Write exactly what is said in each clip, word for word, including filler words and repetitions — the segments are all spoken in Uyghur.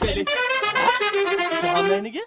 جاھان نەينىگە؟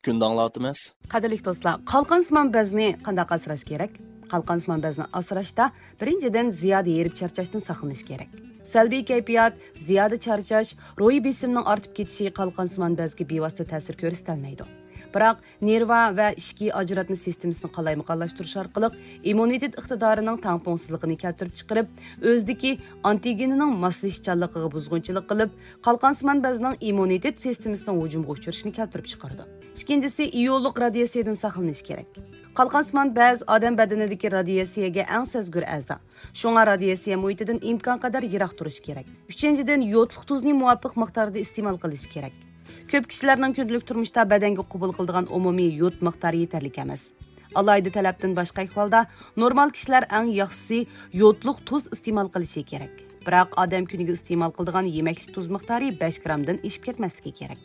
كۈندە ئاڭلاۋاتىمىز. قەدىرلىك دوستلار، قالقانسىمان بەزنى قانداق ئاسراش كېرەك؟ قالقانسىمان بەزنى ئاسراشتا بىرىنچىدىن زىيادە ھېرىپ چارچاشتىن ساقلىنىش كېرەك. سەلبىي كەيپىيات، زىيادە چارچاش، روھىي بېسىمنىڭ ئارتىپ كېتىشى قالقانسىمان بەزگە بىۋاسىتە تەسىر كۆرسىتەلمەيدۇ. بىراق نېرۋا ۋە ئىچكى ئاجراتما سىستېمىسىنى قالايمىقانلاشتۇرۇش ئارقىلىق ئىممۇنىتېت ئىقتىدارىنىڭ تەڭپۇڭسىزلىقىنى كەلتۈرۈپ چىقىرىپ، ئۆزىدىكى ئانتىگېنىنىڭ ماسلىشىشچانلىقىغا بۇزغۇنچىلىق قىلىپ، قالقانسىمان بەزنىڭ ئىممۇنىتېت سىستېمىسىنىڭ ھۇجۇمغا ئۇچرىشىنى كەلتۈرۈپ چىقىرىدۇ. ئىككىنچىسى، ئىيونلۇق رادىياتسىيەدىن ساقلىنىش كېرەك. قالقانسىمان بەز ئادەم بەدىنىدىكى رادىياتسىيەگە ئەڭ سەزگۈر ئەزا. شۇڭا رادىياتسىيە مۇھىتىدىن ئىمكانقەدەر يىراق تۇرۇش كېرەك. ئۈچىنچىدىن، يودلۇق تۇزنى مۇۋاپىق مىقداردا ئىستېمال قىلىش كېرەك. كۆپ كىشىلەرنىڭ كۈندىلىك تۇرمۇشتا بەدەنگە قوبۇل قىلىدىغان ئومۇمىي يود مىقدارى يېتەرلىك ئەمەس. ئالاھىدە تەلەپتىن باشقا ئەھۋالدا، نورمال كىشىلەر ئەڭ ياخشىسى يودلۇق تۇز ئىستېمال قىلىشى كېرەك. بىراق ئادەم كۈنىگە ئىستېمال قىلىدىغان يېمەكلىك تۇز مىقدارى بەش گرامدىن ئېشىپ كەتمەسلىكى كېرەك.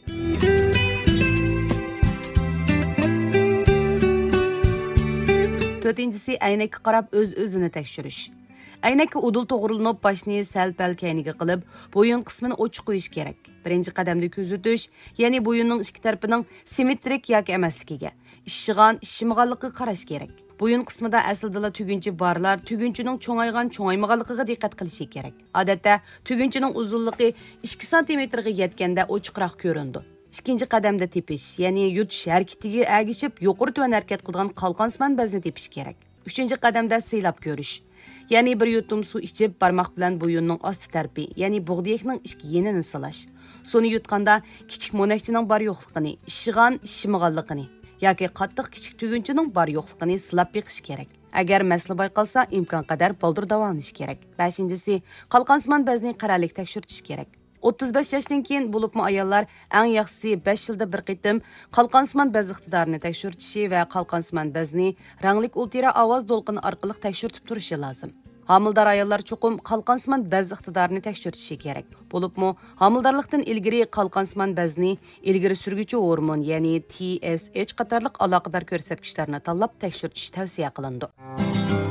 تۆتىنچىسى، ئەينەككە قاراپ ئۆز-ئۆزىنى تەكشۈرۈش. ئەينەككە ئۇدۇل توغرىلىنىپ، باشنى سەل-پەل كەينىگە قىلىپ، بويۇن قىسمىنى ئوچۇق قويۇش كېرەك. بىرىنچى قەدەمدە كۆزىتىش، يەنى بويۇننىڭ ئىككى تەرىپىنىڭ سىممېترىك ياكى ئەمەسلىكىگە، ئىششىغان، ئىششىمىغانلىقىغا قاراش كېرەك. بويۇن قىسمىدا ئەسلىدىلا تۈگۈنچە بارلار تۈگۈنچىنىڭ چوڭايغان، چوڭايمىغانلىقىغا دىققەت قىلىشى كېرەك. ئادەتتە تۈگۈنچىنىڭ ئۇزۇنلۇقى ئىككى سانتىمېتىرغا يەتكەندە ئوچۇقراق كۆرۈنىدۇ. ئىككىنچى قەدەمدە تېپىش، يەنى يۇتۇش ھەرىكىتىگە ئەگىشىپ يۇقىرى تۆۋەن ھەرىكەت قىلىدىغان قالقانسىمان بەزنى تېپىش كېرەك. ئۈچىنچى قەدەمدە سىلاپ كۆرۈش، يەنى بىر يۇتۇم سۇ ئىچىپ، بارماق بىلەن بويۇننىڭ ئاستى تەرىپى، يەنى بوغدىيەكنىڭ ئىچكى يېنىنى سىلاش. سۇنى يۇتقاندا كىچىك مونەكچىنىڭ بار يوقلۇقىنى، ئىششىغان، ئىششىمىغانلىقىنى ياكى قاتتىق كىچىك تۈگۈنچىنىڭ بار يوقلۇقىنى سىلاپ بېقىش كېرەك. ئەگەر مەسىلە بايقالسا، ئىمكانقەدەر بالدۇر داۋالىنىش كېرەك. بەشىنچىسى، قالقانسىمان بەزنى قەرەللىك تەكشۈرتۈش كېرەك. ئوتتۇز بەش ياشتىن كېيىن، بولۇپمۇ ئاياللار ئەڭ ياخشىسى بەش يىلدا بىر قېتىم قالقانسىمان بەز ئىقتىدارىنى تەكشۈرتۈشى ۋە قالقانسىمان بەزنى رەڭلىك ئۇلترا ئاۋاز دولقۇنى ئارقىلىق تەكشۈرتۈپ تۇرۇشى لازىم. ھامىلىدار ئاياللار چوقۇم قالقانسىمان بەز ئىقتىدارىنى تەكشۈرتۈشى كېرەك. بولۇپمۇ ھامىلىدارلىقتىن ئىلگىرى قالقانسىمان بەزنى ئىلگىرى سۈرگۈچى ھورمون، يەنى تى ئېس ئېچ قاتارلىق ئالاقىدار كۆرسەتكۈچلەرنى تاللاپ تەكشۈرتۈش تەۋسىيە قىلىنىدۇ.